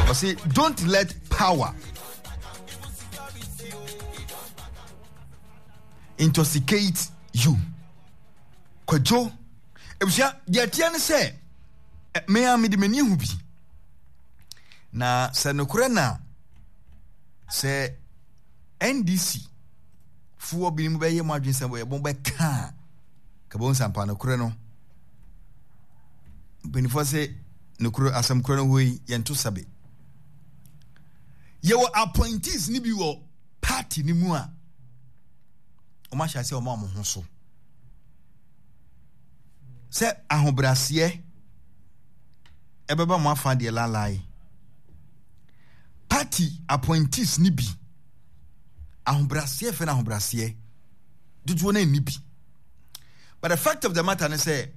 Ɔse don't let power intoxicate you. Kwadwo, ebusua deɛ ɛteɛ ne sɛ me a mede m'ani ahu bi. Na sɛ nokorɛ na sɛ NDC foɔ binom bɛyɛ mo adwene sɛ wɔyɛ bɛka a kabɔ nsampa nokorɛ no mpanimfoɔ sɛ nokorɛ asɛm korɛ no hɔ yi yɛnto sabe. Yɛwɔ appointees no bi wɔ party no mu a wɔn ahyɛ ase wɔn a wɔn ho so sɛ ahobrɛaseɛ ɛbɛba mo afa deɛ lalae party appointees no bi ahobrɛaseɛ fɛ no ahobrɛaseɛ dodoɔ no nni bi but the fact of the matter ne sɛ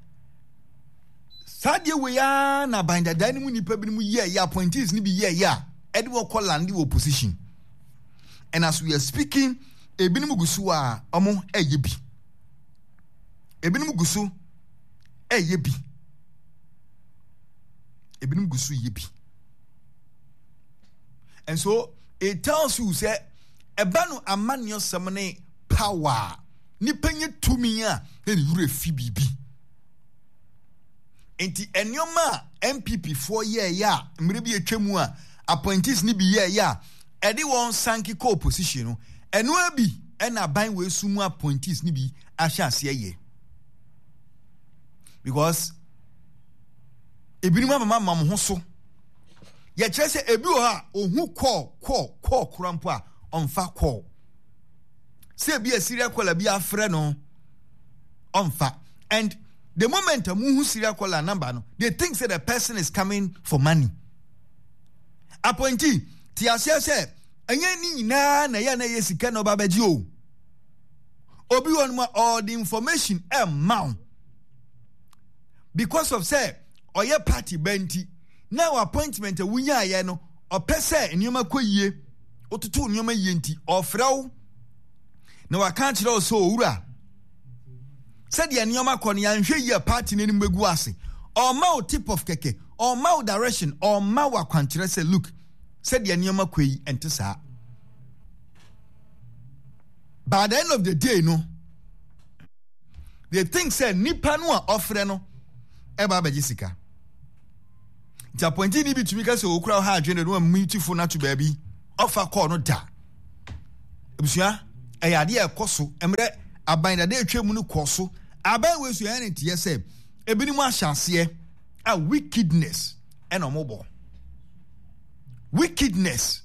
Saa adeɛ wei ara na aban dadaa no mu nnipa binom yɛɛyɛ, appointees no bi yɛɛyɛ a ɛde wɔn kɔ lande wɔ opposition. And as we are speaking, ebinom gu so a wɔn ɛyɛ bi. Ebinom gu so ɛyɛ bi. Ebinom gu so yɛ bi. And so it tells you sɛ ɛba no amanneɛsɛm ne power nipa nye tumi a na ne werɛ fi biribi. Nti nneɛma a NPP foɔ yɛɛyɛ a mmerɛ bi atwa mu a appointees no bi yɛɛyɛ a ɛde wɔn sanke kɔ opposition no, ɛno ara bi ɛna aban wei so mu appointees no bi ahyɛ aseɛ yɛ. Because ebinom amama ma mo ho so. Yɛkyerɛ sɛ ebi wɔ hɔ a ohu kɔɔ kɔɔ kɔɔ kora mpo a ɔmfa kɔɔ. Sɛ ebi a serial caller bi afrɛ no ɔmfa. And the moment a muhu serial caller number no, they think say the person is coming for money. Appointee, te aseɛ sɛ ɛnyɛ ne nyinaa na ɛyɛ na ɛyɛ sika na ɔba bɛgye o. Obi wɔ no ma ɔde information ɛmma wo because of sɛ ɔyɛ party ba nti na wɔ appointment a wonyaayɛ no ɔpɛ sɛ nneɛma kɔ yie wototo nneɛma yie nti ɔfrɛ wo na waka akyerɛ wo sɛ owura sɛdeɛ nneɛma kɔ no yɛanhwɛ yie a party no anim bɛgu ase ɔma wo tip of kɛkɛ ɔma wo direction ɔma wo akwankyerɛ sɛ look sɛdeɛ nneɛma kɔ yi ɛnte saa by the end of the day no they think sɛ nipa no a ɔfrɛ no ɛba abɛgye sika nti apɔnti ni bi tumi ka sɛ okura ɔha adwene no amutifo no ato baabi ɔfa kɔɔ no da Abusua, ɛyɛ adeɛ a ɛkɔ so mmerɛ aban dada atwa mu no kɔ so. Aban wei so yɛn ne teɛ sɛ ebinom ahyɛ aseɛ a wickedness ɛna wɔn bɔ. Wickedness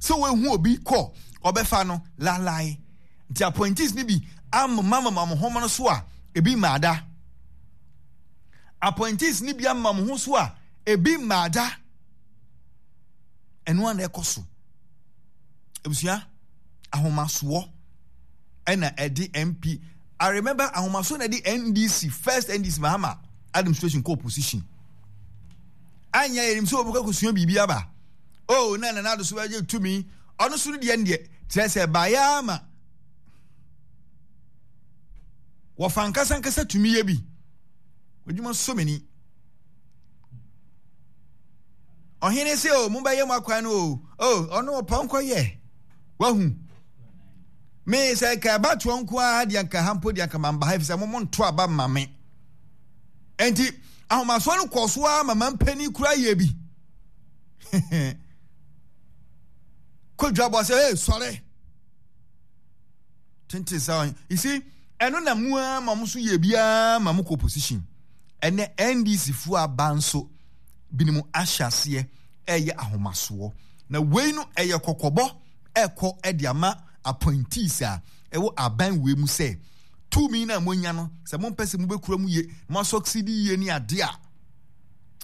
sɛ wɔahu obi kɔ ɔbɛfa no lalae nti appointees no bi amamamama mo ho no so a ebi mmaada. Appointees no bi amama mo ho so a ebi mmaada. Ɛno a na ɛkɔ so. Abusua, ahomasoɔ ɛna ɛde MP. I remember ahomasoɔ na ɛde NDC, first NDC Mahama administration kɔ opposition. Anya yɛnim sɛ wɔbɛkɔ akɔsua biribi aba. Oh, na Nana Addo so bɛgye tumi. Ɔno so no deɛ deɛ kyerɛ sɛ baeɛ ama wɔfa nkasa nkasa tumi yɛ bi. Adwuma so mani. Ɔhene se o, mobɛyɛ mo akwan no o, o, ɔno ɔpɔnkɔ yɛ. Wahu. Me sɛ nka ɛbatoɔ nko ara deɛ nka ha mpo deɛ nka mamba ha efisɛ mo mo nto aba mma me. Enti ahomasoɔ no kɔɔ so ara ma mampanin kura yɛ bi. Kodwa bɔ sɛ, hey, sɔre. Tenten sa you see, ɛno na mu ara ma mo so yɛ biara ma mo kɔ opposition. Ɛnɛ NDC foɔ aba nso binom ahyɛ aseɛ ɛreyɛ ahomasoɔ. Na wei no ɛyɛ kɔkɔbɔ ɛkɔ ɛde ama appointees a ɛwɔ aban wei mu sɛ tumi no a moanya no sɛ mompɛ sɛ mobɛkura mu yie mo asɔksidi yie ne adeɛ a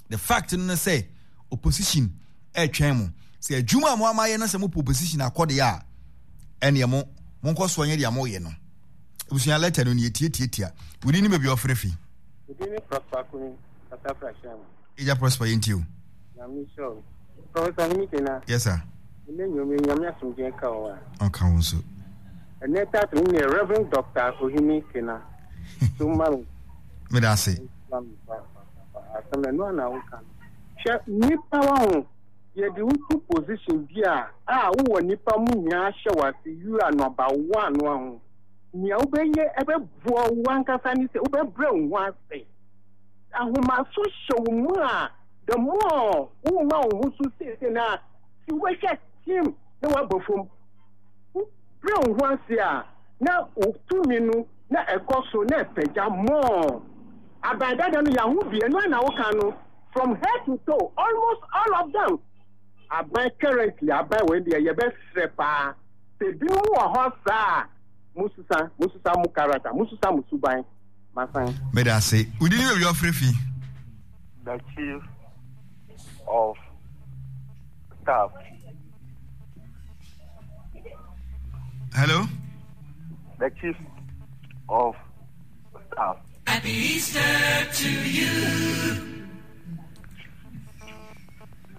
the fact no ne sɛ opposition ɛretwɛn mo sɛ adwuma a mo ama yɛ no sɛ mopɛ opposition akɔ deɛ a ɛneɛ mo monkɔ soɔ nyɛ deɛ moyɛ no abusua lɛtɛ no ne yɛtiatiatia wodi ne baabi ɔfrɛ fi. Wodi ne Prosper Kumi Kasafra Hyɛn. Agya Prosper yɛn tie o. Nyame nhyira wo. Professor Hene Kena. Yes sir. Ɛnɛ nnwom yi Nyame asomdwoeɛ nka wo a. Ɔnka wo nso. Ɛnɛ title no yɛ Reverend Doctor Ohene Kena. So ma me. Meda ase. Asɛm ɛno a na woka no. Hwɛ nipa wa ho. Yɛde wo to position bi a a wowɔ nnipa mu nyinaa hyɛ wo ase, you are number one no ho. Nea wobɛyɛ ɛbɛboa wo ankasa ne sɛ wobɛbrɛ wo ho ase. Ahomaso hyɛ wo mu a, the more woma wo ho so seesei no a, si wobɛhwɛ team na woaba fam. Wobrɛ wo ho ase a, na wo tumi no na ɛkɔ so na ɛpagya more. Aban dada no yɛaho bi, ɛno ara na woka no, from head to toe, almost all of them. Aban currently, aban wei deɛ yɛbɛsrɛ paa, sɛ ebinom wɔ hɔ saa a, mosusa, mosusa mo character, mosusa mo suban. Masan. Meda ase. Wo din ne baabi a wofrɛ fi? The chief of staff. Hello? The chief of staff. Happy Easter to you.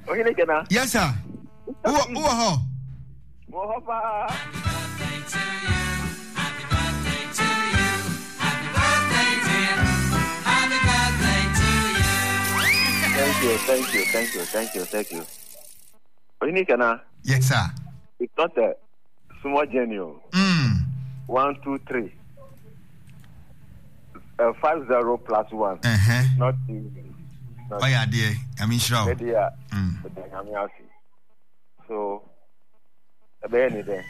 Ohene Gena. Yes, sir. Who who hɔ? Wɔ hɔ paa. Happy birthday to you. Happy birthday to you. Happy birthday, dear. Happy birthday to you. Thank you, thank you, thank you, thank you, thank you. Ohene Gena. Yes, sir. It's not a small journey. Oh. 1, 2, 3. 5 0 plus 1. Not easy. Not oh, yeah, dear. I mean, sure. Dear, So, ɛbɛyɛ ne dɛ.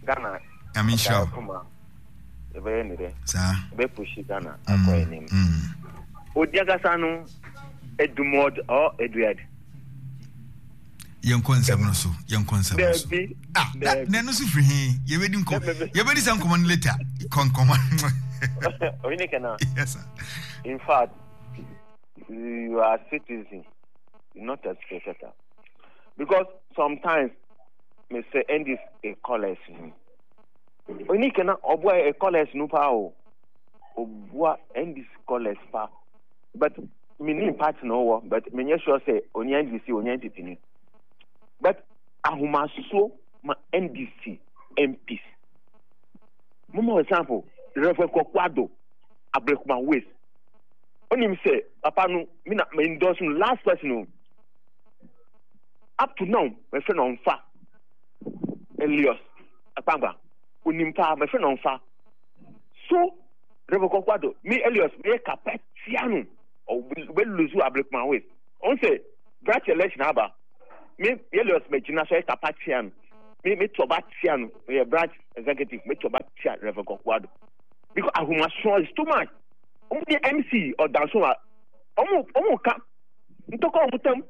Ghana. Nyame nhyira wo. Kuma. Ɛbɛyɛ ne dɛ. Saa. Ɛbɛ pushi Ghana akɔ anim. Odi ankasa no Edumod or Eduard. Yɛnkɔ nsɛm no so. Yɛnkɔ nsɛm no so. Daabi. Ah, na na ɛno so firi he? Yɛbɛdi nkɔmɔ. Yɛbɛdi saa nkɔmɔ no later. Kɔ nkɔmɔ. Oyine kena. Yes sir. In fact, you are citizen, not a spectator. Because sometimes me say end this a callers ni. Oni kana oboa a callers no pa o. Oboa end this callers pa. But me ni party no wo, but me nye sure say oni NDC oni NPP ni. But ahomaso ma NDC MPs. Mama example, Reverend Kokwado Abrekuma Waste. Onim say papa no me na me endorse no last person o. Up to now, mefrɛ no ɔmfa. Elias Akpangba, onim paa, mefrɛ no ɔmfa. So, Reverend Kwaku me Elias, meyɛ kapa tia no. Ɔbɛ lose Ablekuma West. Ɔn sɛ, branch election aba. Me Elias megyina so yɛ kapa tia no. Me me to ɔba tia no. Meyɛ branch executive, me to ɔba tia Reverend Kwaku Because ahomasoɔ is too much. Ɔmo de MC ɔdanso a, ɔmo ɔmo ka ntɔkwa ɔmo tam.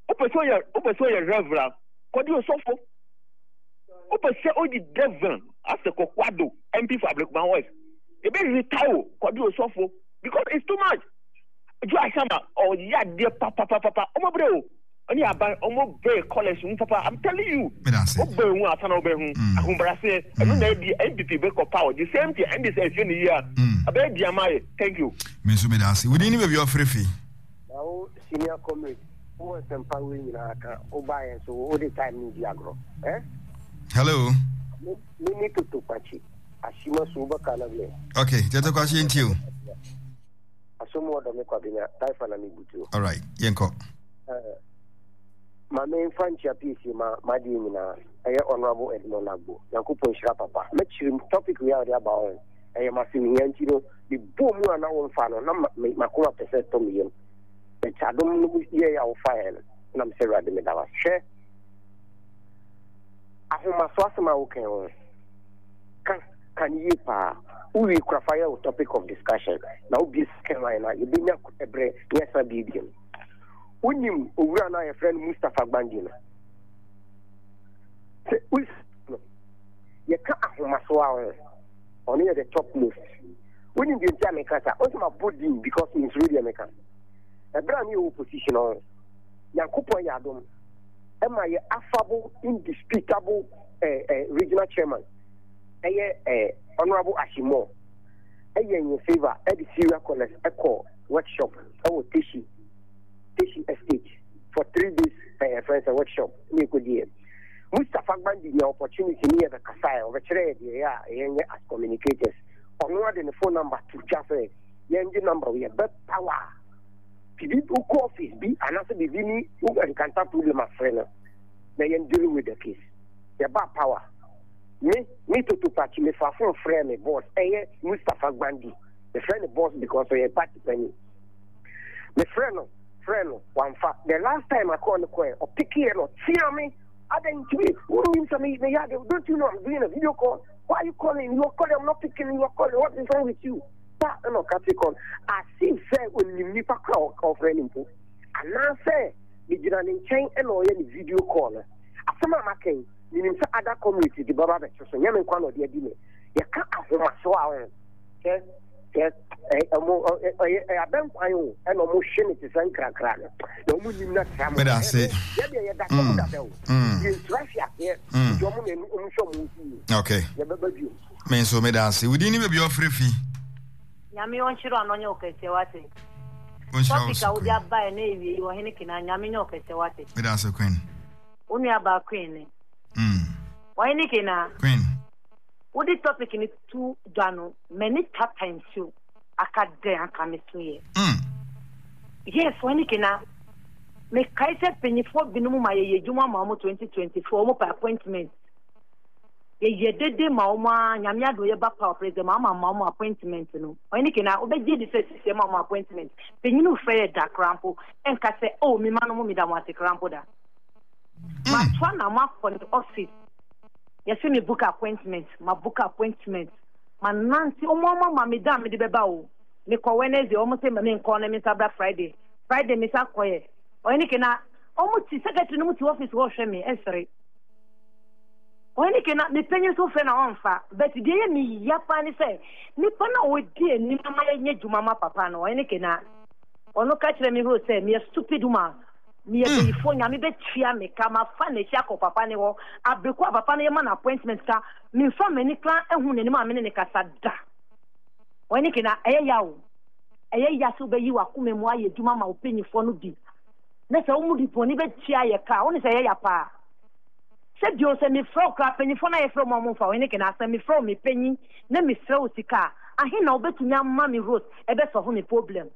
Wopɛ sɛ ɔyɛ wopɛ sɛ ɔyɛ reverend kɔde osɔfo. Wopɛ sɛ ɔdi reverend asɛ kɔkwado MP for Ablekuma West. Ebe retire o kɔde osɔfo because it's too much. Joe Ashama ɔyɛ adeɛ papapapa ɔmo brɛ o ɔne aban ɔmo brɛ colours mu papa I'm telling you. Wobɛ hu asa na wobɛ hu ahobrɛaseɛ ɛno na ɛdi NPP bɛ kɔ power the same thing NDC ɛhwɛ ne yie a ɛbɛyɛ di ama yɛ thank you. Me nso meda ase. Wo din ne baabi a ɔfrɛ fi? Na wo senior comrade wowɔ nsɛmpa wei nyinaa ka wobaeɛ nso wode time no di agorɔ eh? Hello. Me ne Toto Kwakye Ashima so wobɛka no deɛ. Okay, Toto Kwakye nti o. Asom wɔ dɔ me Kwabena Taifa na mebutuo. All right, yɛnkɔ. Uh, ma memfa nkyia piesie ma m'adeɛ nyinaa ɛyɛ Honorable Edmond Agbo Nyankopɔn nhyira papa mɛkyerɛ mu topic wei a wɔde aba ho ɛyɛ m'asɛm hia nti no mebɔɔ mu a na womfa no na m'akoma pɛ sɛ ɛtɔ me yam but adom no yɛɛ a wofaeɛ no na mesɛ Awurade meda wo ase hwɛ ahomaso asɛm a wokan ho ka ka no yie paa wowie kora fa yɛ wo topic of discussion na wobie second line a yɛbɛnya ɛberɛ ne yɛsan biebie no wonim owura no a yɛfrɛ no Mustapha Gbandi no sɛ wosi no yɛka ahomaso a ho ɔno yɛ the top most wonim deɛ nti a meka sa ɔsɛ mabɔ din because mensuro deɛ meka ɛberɛ a ne yɛwɔ opposition ho Nyankopɔn yɛ adom ɛma yɛ affable indisputable eh, eh, regional chairman ɛyɛ eh, honorable Ashimo ɛyɛ yɛn favor ɛde Syria callers ɛkɔ workshop ɛwɔ Teshi Teshi estate for 3 days ɛyɛ friends workshop ne ɛkɔdiɛ Mustapha Gbandi nya opportunity ne yɛbɛkasaɛ ɔbɛkyerɛ yɛ deɛ ɛyɛ a yɛnyɛ as communicators ɔno ade ne phone number to dwa sɛ yɛngye number yɛbɛ power. Biribi wokɔ office bi anaasɛ biribi ni wo encounter problem afrɛ no na yɛn deal with the case. Yɛba power. Me me Toto Pakyi me fa phone frɛ me boss ɛyɛ Mustapha Gbandi. Me frɛ no boss because ɔyɛ party panyin. Me frɛ no frɛ no wamfa. The last time I call no kɔɛ ɔpeke yɛ no ɔtea me. Adɛn nti me wonim sɛ me meyɛ ade don't you know I'm doing a video call? Why are you calling? You are calling I'm not picking you are calling what is wrong with you? Pa na ɔka te kɔ no as if sɛ onim nipa koro a ɔfrɛ no mpo anaasɛ megyina ne nkyɛn na ɔyɛ ne video call no. Asɛm a maka yi, menim sɛ other comrades de bɛba abɛto so, nyɛ me nko na ɔde adi me. Yɛka ahomaso a ɔho sɛ sɛ ɔmo ɛyɛ abɛnkwan o ɛna ɔmo hwe ne te sɛ nkrakra no na ɔmo nim na tra mo. Meda ase. Yɛdeɛ yɛda fam dada o. Yɛnsura hwe aseɛ nti ɔmo na ɔmo hwɛ ɔmo ho yie. Okay. Yɛbɛba bio. Me nso meda ase. Wo din ne baabi a ɔfrɛ fi? Nyame ɔnhyira wo na ɔnyɛ wo kɛseɛ wate. Ɔnhyira wo Topic so a wode Queen. aba ɛnɛ awie yi ɔhene Kena Nyame nyɛ wo kɛseɛ wate. Meda ase Queen. Wo nua baa Queen ne. Mm. Ɔhene Kena. Queen. Wode topic no to dwa no m'ani tata nsuo aka dɛn anka me so yɛ. Mm. Yes ɔhene Kena. Mekae sɛ mpanyinfoɔ binom ma yɛyɛ adwuma ma wɔn 2024 wɔn pɛ appointment. Yɛyɛ dede ma wɔn aa Nyame adom yɛba power president Mahama ma wɔn appointment no ɔhene Kena wobɛgye adi sɛ sisi ɛma wɔn appointment panyin mfrɛ yɛ da koraa mpo ɛnka sɛ oh me ma no mo meda mo ase koraa mpo da matoa na moakɔ ne office yɛse me book appointment ma book appointment ma nante wɔn ama ma me da a mede bɛba o mekɔ Wednesday wɔn se me nkɔ na me nsa bra Friday Friday me sa kɔyɛ ɔhene Kena wɔn ti secretary no mu ti office hɔ hwɛ me ɛsere. Ɔhene Kena, me panyin nso frɛ na ɔmfa. But deɛ ɛyɛ me ya paa ne sɛ, nipa no a ɔdi anim ama yɛnyɛ adwuma ma papa no, Ɔhene Kena, ɔno ka kyerɛ me hoo sɛ meyɛ stupid woman, meyɛ bayifoɔ, Nyame bɛtua me ka, mafa n'akyi akɔ papa no hɔ, abere ko a papa no yɛma no appointment ka, memfa m'ani koraa nhu n'anim a me ne no kasa da. Ɔhene Kena, ɛyɛ ya o, ɛyɛ ya sɛ wobɛyi w'akoma mu ayɛ adwuma ama wo panyinfoɔ no bi, na sɛ wɔn de bɔne bɛtua yɛ ka a, wone sɛ ɛyɛ ya paa. Sɛ bio, sɛ mefrɛ wo koraa, mpanyimfoɔ no a yɛfrɛ wɔn a wɔmfa ɔhene kene asɛm, mefrɛ wo me panyin na mesrɛ wo sika a, ahe na wobɛtumi ama me Rose ɛbɛsɔlvo me problem?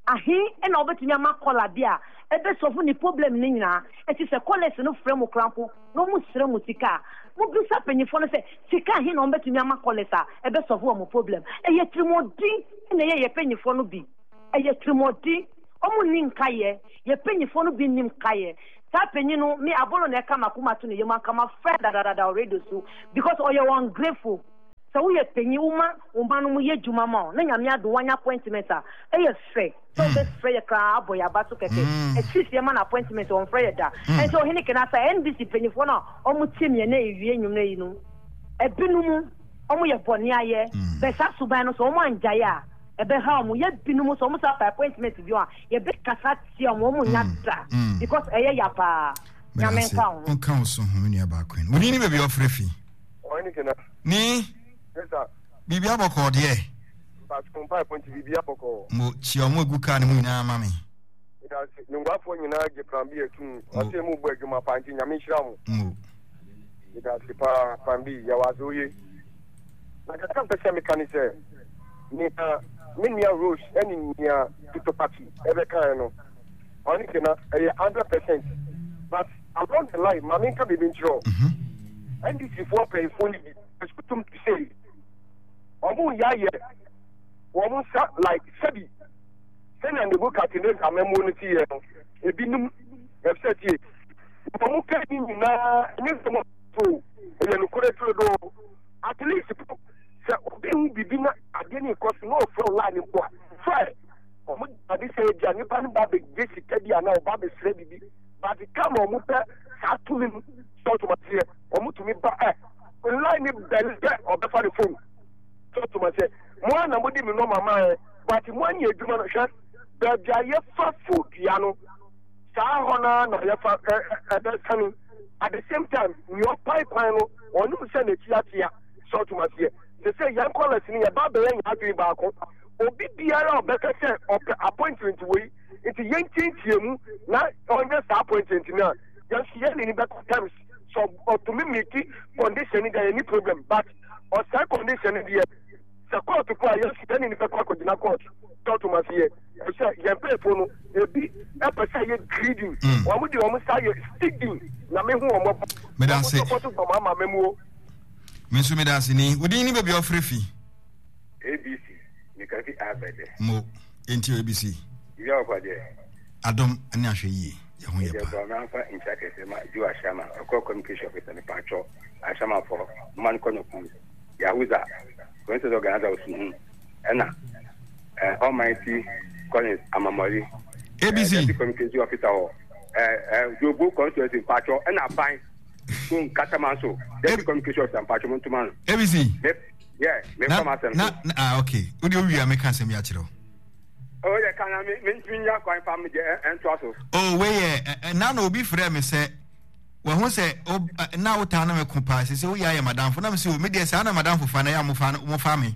Ahe na wobɛtumi ama kɔla bi a ɛbɛsɔlvo ne problem no nyinaa? Enti sɛ kɔlɛs no frɛ mo koraa mpo na wɔsrɛ mo sika a, mobisa mpanyimfoɔ no sɛ sika ahe na wɔbɛtumi ama kɔlɛs a ɛbɛsɔlvo wɔn problem? Ɛyɛ atirimuɔden na ɛyɛ yɛn mpanyimfoɔ no bi. Ɛyɛ atirimuɔden. Wɔnni nkaeɛ. Yɛn mpanyimfoɔ no bi nnim nkaeɛ. Saa panyin no me abolo na ɛka makoma to ne yam anka mafrɛ dadadada wɔ radio so because ɔyɛ ungrateful. Sɛ woyɛ panyin woma wo mma no mo yɛ adwuma ma wo na Nyame adom wanya appointment a ɛyɛ fɛ sɛ wobɛfrɛ yɛ koraa abɔ yɛ aba so kɛkɛ. At least yɛma no appointment ɔmfrɛ yɛ da. Ɛnti ɔhene Kenasa NDC panyinfoɔ no a ɔmo tie me ɛnɛ ɛwie nwummerɛ yi no ɛbinom ɔmo yɛ bɔne ayɛ but saa suban no sɛ ɔmo angyae a ɛbɛha ɔmo. Yɛ binom nso ɔmo san fa appointment bio a yɛbɛkasa tia ɔmo, ɔmo nya da because ɛyɛ ya paa. Nyame nka wo ho. Nka wo so ho me nua baa Queen. Wo din ne baabi a ɔfrɛ fi? Ɔhene Kena. Ni. Yes sir. Biribi abɔkɔɔ deɛ. Mpatsɔ mpaebɔ nti biribi abɔkɔɔ. Mo kyia ɔmo egu kaa no mu nyinaa ma me. Medase. Nunguafoɔ nyinaa gye plan B atum. Ɔse mo bɔ adwuma paa nti Nyame nhyira mo. Mo. Medase paa plan B yɛwɔ ase oye. Na kakra mpɛ sɛ meka ne sɛ, nea me nua Rose ne nea Tuto Pati bɛkaeɛ no, ɔne Kena, ɛyɛ 100%. But along the line, ma menka biribi nkyerɛ wo. NDC foɔ mpanyinfoɔ no bi, ɛsutum te sei, wɔn yɛ ayɛ wɔn nsa like sɛbi sɛnea Nebuchadnezzar amammuo no teɛ no, ebinom ɛfisɛ tie, wɔn ka ni nyinaa ɛnyɛ sɛ wɔn so ɛyɛ nokorɛ turodoo. At least po sɛ obi hu biribi na adeɛ no rekɔ so na ɔfrɛ wo line mpo a, frɛ. Wɔn de ade sɛ ebia nipa no ba abɛgye sika bi anaa ɔba abɛsrɛ biribi but come a wɔn pɛ saa tumi no sɛ ɔtom aseɛ wɔn tumi ba ɛ line no bɛn pɛ ɔbɛfa ne phone sɛ ɔtom aseɛ mo a na mo de me nɔma maa ɛ but mo anyɛ adwuma no hwɛ baabi a yɛfa fo dua no saa hɔ no ara na yɛfa ɛbɛsane at the same time nea ɔpae kwan no ɔnim sɛ n'akyi akyea sɛ ɔtom aseɛ sɛ sɛ yɛn kɔlɛs no yɛba bɛyɛ yɛn adwene baako obi biara a ɔbɛka sɛ ɔpɛ appointment wei nti yɛntiantia mu na ɔnyɛ saa appointment no a yɛn nso yɛn ne no bɛkɔ terms sɛ ɔtumi miti condition no deɛ yɛni problem but ɔsɛe condition no deɛ. Sɛ kɔɔto po a, yɛn nso yɛne no bɛkɔ akɔgyina kɔɔto. Tɔto ma seɛ sɛ yɛn mpanyinfoɔ no ebi pɛ sɛ yɛ greedy. Wɔn de wɔn nsa yɛ steady na me hu wɔn mmɔbɔ. Meda ase. Wɔn sɔpɔto dɔm ama mɛmuo. Me nso meda ase ni. Wo din ne baabi a wofrɛ fi? ABC, meka fi Abɛdɛ. Mo, yɛntie o ABC. Biribi a wɔkɔ deɛ. Adom ne ahwɛ yie, yɛ ho yɛ Ɛdeɛ paa. bɔ mamfa nkyia kɛse ma Joe Ashama, ɔkɔ communication officer, mepatwɔ Ashama fɔ, moma no kɔ no kuu. Yahuza, Princess Organizer Osuhu, ɛna eh, Almighty Collins Amamori, ABC. Eh, Deputy Communication Officer wɔ eh, eh, Jobo Constituency mpatsɔ, ɛna Aban so Nkatamanso, Deputy Communication Officer mpatsɔ mo ntoma no. ABC. Me, yeah, me Na, kɔ m'asɛm na, so. na, ah, okay. Wode owie a meka asɛm yi akyerɛ wo. Oh, yɛ ka na me, me ntumi nya kwan fa me deɛ ɛntoa so. Oh, wei yɛ, ɛ, ɛ, na na obi frɛ me sɛ Wahu sɛ o na wotaa ne me ko paa sɛ sɛ woyɛ ayɛ madamfo na me sɛ o me deɛ saa na madamfo fa na yɛ a mofa mofa me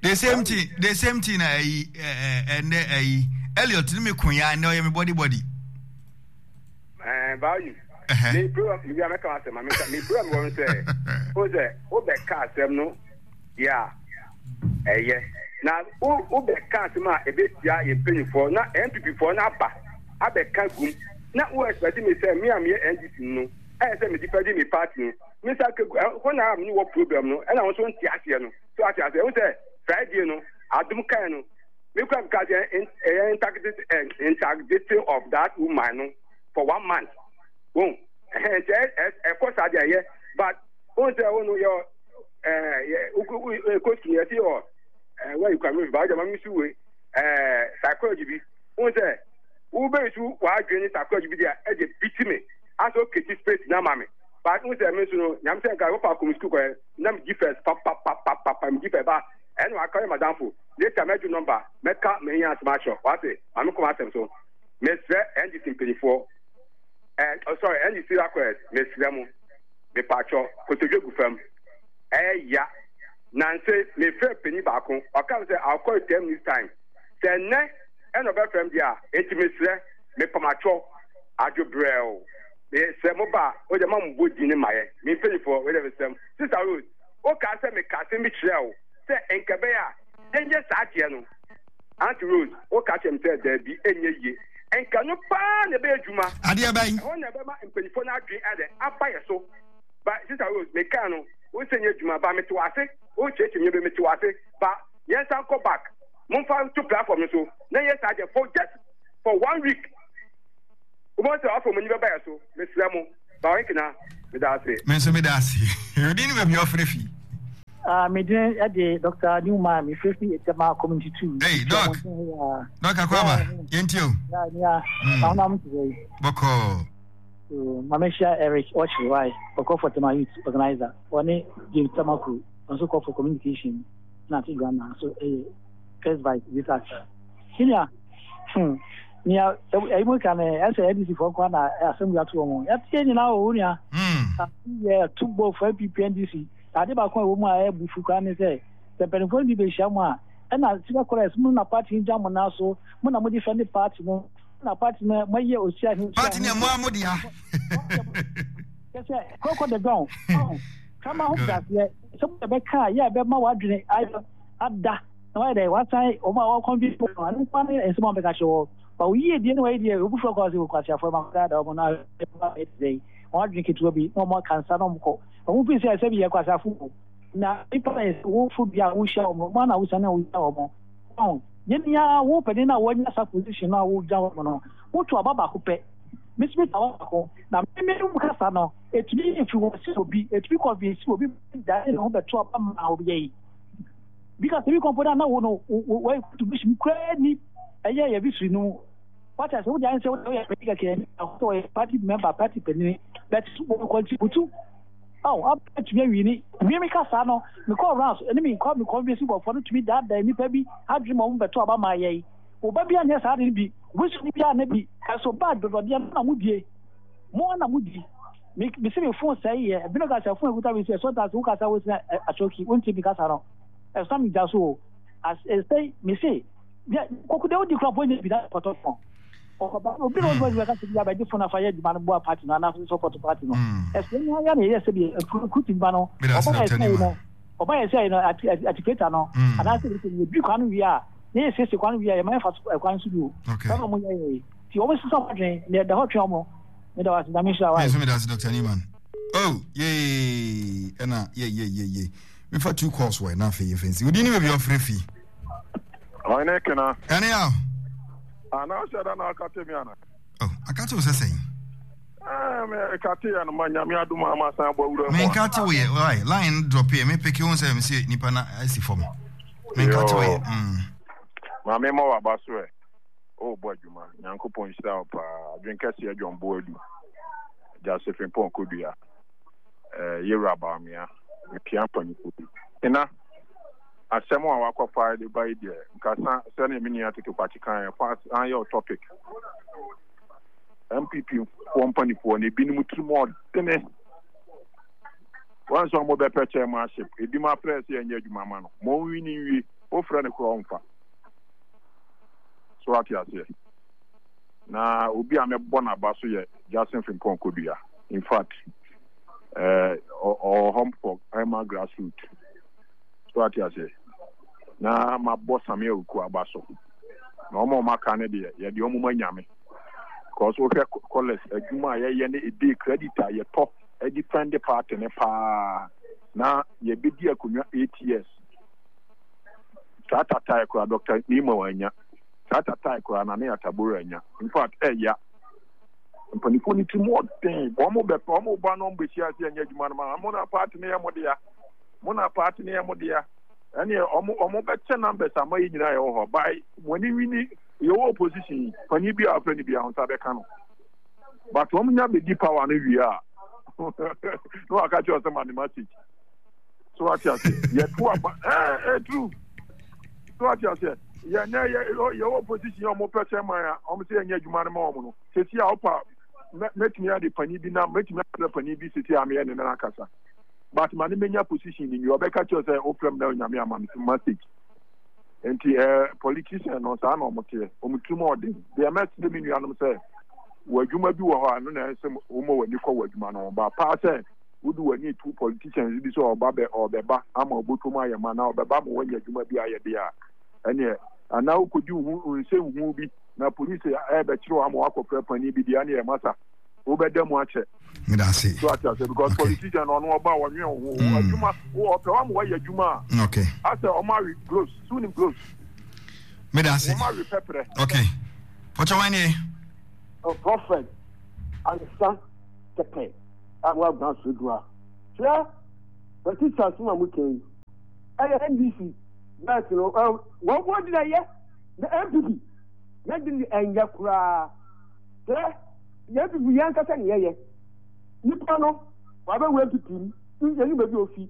the same thing the same thing na ayi ɛnɛ ayi Elliot ne me ko ya ɛnɛ ɔyɛ me body body. Ɛɛ baayi me program mi bi a mɛka asɛm ma meka me program wɔ no sɛ o sɛ wobɛka asɛm no deɛ a ɛyɛ na wobɛka asɛm a ɛbɛtia yɛn mpanyinfoɔ na NPP foɔ no aba abɛka gum na wo expect me sɛ me a meyɛ NDC no ɛyɛ sɛ me defend me party no me sa kegu hɔ na me wɔ problem no ɛna wo nso nte aseɛ no so ate aseɛ wo sɛ Friday no adom kan no me kura me ka sɛ ɛyɛ integrity of that woman no for one month wɔn ɛhɛn nti ɛkɔ saa deɛ ɛyɛ but wɔn sɛ wɔn no yɛ ɛɛ yɛ kɔ sukuu yɛ ti yɛ ɛɛ wɔn yi kura mi ba ɔjɛ ma mi su wei ɛɛ psychology bi wɔn sɛ. Wobɛsu w'adwene ne sakra bi deɛ ɛde biti me asɛ oketi space na ama me but n sɛ me nso no nyame sɛ nka wofa kɔm sukuu kɔɛ na me di first papapapapa me di first ba ɛna waka yɛ madamfo later mɛgye number mɛka mehia asɛm akyerɛ wate ma me kɔm asɛm so mesrɛ NDC mpanyinfoɔ eh, oh, sorry NDC akɔɛ mesrɛ mo mepatwɔ kotodwe gu fam ɛyɛ ya nanse mefrɛ panyin baako ɔka me sɛ I'll call you 10 minutes time sɛ nnɛ ɛna ɔbɛfrɛ me deɛ a, enti mesrɛ, mepamakyɔ, adwo brɛoo, mesrɛ mo ba a, wodeɛ ma mobɔ din no mayɛ, me mpanyinfoɔ, wei deɛ mesrɛ mo. Sister Rose, wokaa sɛ meka asɛm bi kyerɛɛ wo sɛ nka ɛbɛyɛ a yɛnyɛ saa adeɛ no. Auntie Rose, woka kyerɛɛ me sɛ daabi, ɛnyɛ yie. Nka ɛno paa na ɛbɛyɛ adwuma. Adeɛ bɛn? Ɛhɔ na ɛbɛma mpanyinfoɔ no adwene ayɛ dɛn? Aba yɛ so. Ba, Sister Rose, mekaa no, wo sɛ nyɛ adwuma, ba mete wo ase, wokyerɛkyerɛ me nneɛma bi, mete wo ase, ba yɛnsan nkɔ back. Momfa nto platform no so na yɛ saa deɛ for just for one week. Wobɛhu sɛ afei wɔn ani bɛba yɛ so. Mesrɛ mo. Bawe Kena, meda ase. Me nso meda ase. Odin ne baabi a ɔfrɛ fi. Ah, me din de Dr. Newman, me frɛ fi Etema Community 2. Hey, Doc. Doc Akwaba, yɛntie o. Ya, ya. Na honam te sɛ. Bɔkɔɔ. So, ma mehyia Eric Ɔkyere, why? Ɔkɔ for Tema Youth Organizer. Ɔne James Tamakuru, ɔnso kɔ for Communication. na ate Ghana nso yɛ first vice this senior hmm nea ɛyi mu ka no ɛsɛ NDC foɔ nkoa na asɛm bi ato wɔn yɛte nyinaa wɔ wo nua yɛ to bɔ fo NPP NDC ade baako a ɛwɔ mu a ɛyɛ bufu koraa ne sɛ sɛ mpanimfoɔ no bi bɛhyia mu a ɛna sika kɔrɛs mu na party no gya mo nan so mo na mo defend party no na party no moayɛ osia he party no ɛmoa mo dea kyɛ sɛ kɔkɔ de dɔn kama ho braseɛ sɛ bɛka a yɛ a ɛbɛma w'adwene ayɛ ada na wayɛ dɛ wasan wɔn a wɔkɔnvi no ano nkwa ne nsɛm a wɔbɛka kyerɛ wɔ ba wo yie die ne wɔyɛ deɛ obi fura kɔ ase kɔ ase afɔre ma kɔda da wɔn na ayɛ dɛ wɔn adwene ketewa bi na wɔn aka nsa na wɔn kɔ wɔn fi sɛ ɛsɛ bi yɛ kɔ ase afo na nipa na yɛ wo fo bi a wohyia wɔn wɔn na wosan na wohyia wɔn wɔn yɛn nyinaa wo panin na wɔanya sa position na wogya wɔn no woto aba baako pɛ mesimi to aba baako na mmemme mu kasa no Etumi influence obi, etumi convince obi ma ne ho bɛto aba ma obi yɛ yi. Because ebi kɔmpo na na wo no wo contribution koraa ni ɛyɛ yɛ victory no mu. Wate ase wode ayɛ sɛ wode woyɛ panyin kɛkɛ ni sɛ wɔyɛ party member party panyin but wɔ contribute. Oh, abɛtumi awi ni. Mi mi kasa no, me kɔ rounds ɛne mi kɔ mi convince nkurɔfoɔ no tumi daadaa nipa bi adwene ma wɔn bɛto aba ma yɛ yi. Wo ba bi anyɛ saa de no bi, wobɛsua bi a na bi, ɛso ba dɔdɔdeɛ no na modie. Mo na mo di. Me me se me phone sɛe yɛ. Ebi no ka sɛ phone ekuta me sɛ sometimes wo kasa wo sɛ achoki wo nti me kasa no. Ɛso me gya so o. As ɛsɛ me se yɛ koku de odi kura po nye bi na pɔtɔ phone. Ɔkɔba obi na ɔdɔ adwuma kasa bi abɛgye phone afa yɛ adwuma no boa party no anaasɛ support party no. Ɛso ne ayɛ na yɛ sɛ bi kutu ba no. Ɔba na ɛsɛ no. Ɔba yɛ sɛ no atikuleta no anaasɛ yɛdwi kwan no wie a na yɛsiesie kwan no wie a yɛma yɛfa so kwan so bio. Saa na wɔyɛ yɛ. Nti wɔn sesa wɔn adwene na ɛda hɔ twɛn wɔn. Meda wo ase, Nyame nhyira wo. Nso meda ase Dr. Newman. Oh, yay. Ɛna yay yay yay yay. Mefa two calls wɔ ɛna afei yɛfɛ nsi. Wodi ne baabi ɔfrɛ fi. Ɔne kena. Ɛne yaw. Ana ɔhyɛ da na akate mi ana. Oh, akate wo sɛ sɛn? Eh, me kate ya no ma nyame adom a ma san bɔ awura mu. Me nkate wo yɛ, why? Line drop yɛ, me peke wo sɛ me se nipa na asi fam. Me nkate wo yɛ. Ma me ma waba so ɛ. Oh, bɔ adwuma. Nyankopɔn nhyira wo paa. Adwen kɛseɛ John Boadu. Josephine Pɔn Kodua. Eh, Yewura Bawumia. Mepia mpanyinfoɔ bi. Ena, asɛm a wakɔfa de ba yi deɛ, nkasa sɛdeɛ me nua Toto Kwakye kan fa san yɛ topic. NPP foɔ mpanyinfoɔ no ebinom tirim ɔdene. Wɔn nso wɔn bɛpɛ chairmanship. Ebi ma frɛ sɛ yɛnyɛ adwuma ma no. Ma ɔnwi ne nwie. Wofrɛ no koraa ɔmfa. So wate aseɛ? Na obi a mɛbɔ n'aba so yɛ Justin Frimpong Kodua. In fact, ɔwɔ hɔ for ɛma grassroot. So wate aseɛ? Na mabɔ Samia Awuku aba so. Na wɔn a wɔaka no deɛ, yɛde wɔn ma Nyame. Because wohwɛ colours adwuma a yɛyɛ ne ede credit a yɛtɔ de fund party no paa na yɛbɛdi akonnwa 8 years. Saa tatae koraa Dr. Nima wanya. Saa tatae koraa na ne Atabora anya. In fact, ɛya. Mpanimfoɔ no tirim ɔden. Wɔn mo bɛpɛ, wɔn mo ba na wɔn bɛhyia ase ɛnyɛ adwuma no ma. Mo na party no yɛ mo dea. Mo na party no yɛ mo dea. Ɛne wɔn wɔn bɛkyɛ numbers ama yɛ nyinaa yɛwɔ hɔ. By wɔn ani wini yɛwɔ opposition yi, panin bi a ɔfrɛ no bi a nsa bɛka no. But wɔn nya bɛdi power no wie a, na waka kyerɛ sɛ ma ne message. So ate ase yɛto aba ɛɛ ɛɛ true. So ate ase yɛ nɛ yɛ yɛwɔ opposition yɛ ɔmo pɛ sɛ man a ɔmo sɛ yɛnyɛ adwuma no ma ɔmo no sisi a ɔpa mɛ mɛtumi ade panin bi nam mɛtumi afrɛ panin bi sisi a meyɛ ne nan akasa but ma ne menya position ni nwi ɔbɛka kyerɛ sɛ ofrɛ m na onyame ama me message nti ɛɛ politician no saa na ɔmo teɛ ɔmo tirim ɔden deɛ mɛsrɛ me nuanom sɛ wɔ adwuma bi wɔ hɔ a no na ɛsɛ wɔn wɔ ani kɔ wɔ adwuma no ho ba paa sɛ wode w'ani to politicians bi sɛ ɔba bɛ ɔbɛba ama ɔbɔtɔ mu ayɛ ma na ɔbɛba ma wɔanya adwuma bi ayɛ deɛ a ɛneɛ anaa wokɔdi wo ho nsɛnhu bi na polisi ɛbɛkyerɛ wo ama wakɔfrɛ panin bi deɛ ɛneɛ masa wobɛda mu akyɛ. Meda ase. So ate ase because okay. politician ɔno ɔba ɔnwɛn wo ho adwuma ɔpɛ wa ma wayɛ adwuma a. Okay. Asɛ ɔmo awe gloves so nim gloves. Meda ase. Ɔmo awe pɛprɛ. Okay. Pɔtɔ wɔn nie. Prophet ansa kɛkɛ. a wɔaguan so du a. Hwɛ, Batista asɛm a moka yi, ɛyɛ NDC bɛs no, wɔn wɔn de na ɛyɛ, na NPP yɛn de ne ɛnyɛ koraa. Hwɛ, yɛn NPP yɛn ankasa ne yɛyɛ. Nipa no, wabɛwura NPP mu, yɛn baabi a ofi,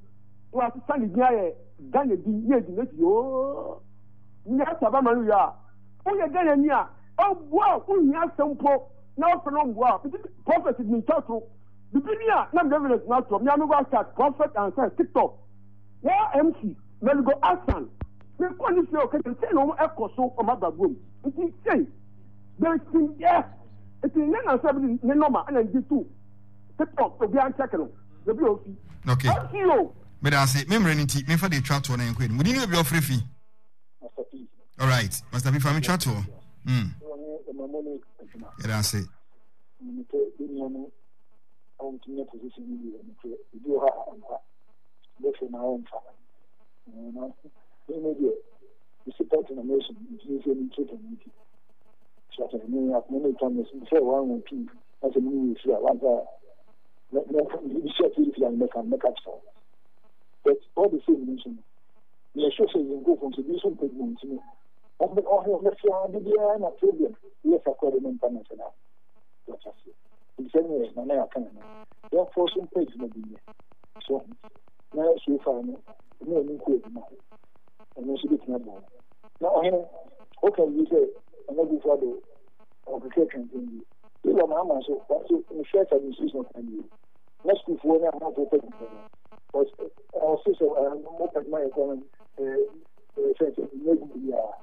na wasesa ne din ayɛ Ghana din, yɛ di n'akyi yoo. Nyɛ saba ma no wie a, woyɛ Ghana ni a, ɔboa wo, wohia asɛm mpo. na ɔfrɛ no mboa a prophet mi nkyɛ to bibi ni a na mede evidence no ato me a me website prophet ansa tiktok wɔ mc meligo asan me kɔ ne fie ɔka kyerɛ sɛ na wɔn ɛkɔ so wɔn aba buom nti sei bɛsi yɛ nti ne nansa bi ne nɔma ɛna ndi to tiktok obi ankyɛke no ebi ofi okay mc o meda ase me mmerɛ no nti memfa de twa toɔ na yɛnkɔ anim wodin ne baabi ɔfrɛ fi alright master bi fa me twa toɔ mm. Yɛda ase. But all the same, yɛhwɛ sɛ yɛn nkurɔfoɔ nso bi nso mpɛ adwuma nti no ɔmo ɔhe ɔmo fi ade biara na problem yɛ fa kɔ de ne mpa na sɛ na wɔte aseɛ nti sɛ neɛ nana yɛ aka no yɛmfoɔ so mpɛ adwuma bi nyɛ so na so far no ɔmo wɔn nkɔ adwuma ho ɛno nso bɛtumi aboa wɔn na ɔhene woka wie sɛ Nana Akufo Addo ɔkeka twɛntɛn bi yɛwura Mahama nso wɔn nso ne first administration ɔka bi na sukuufoɔ ne amanfoɔ pɛ adwuma no ɔse sɛ mopɛ adwuma yɛ kora no sɛ sɛ nyɛ adwuma biara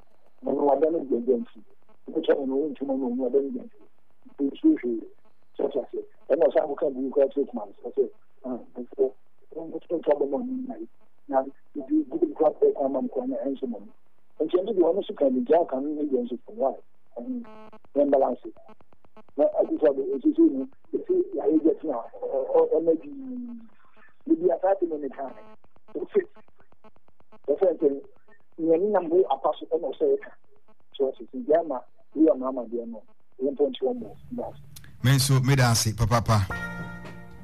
na no wada no gyagya nti wobɛtwa no no wontuma no ɔno wada no gya nti nsuo hwee sɛ ɔte aseɛ ɛna ɔsan kɔka biribi koraa kyerɛ kuma no sɛ sɛ nfoɔ nto abɔ ma ɔno nyae na nso mmom. Nti ɛno deɛ ɔno nso ka bi nti aka no ne deɛ nso fam why? Ɛho yɛn balance. Na Akufo Addo esisi no esi yare gya tina ɔna di bibi asaase mu ne kan. Ose wɔfɛn sɛ nea ne nam ho apa so ɛna ɔsɛ ɛka. So ɔsɛ sɛ gya ma wura maama deɛ no yɛn mpɔnkye wɔn bɔ. Me nso meda ase papaapa.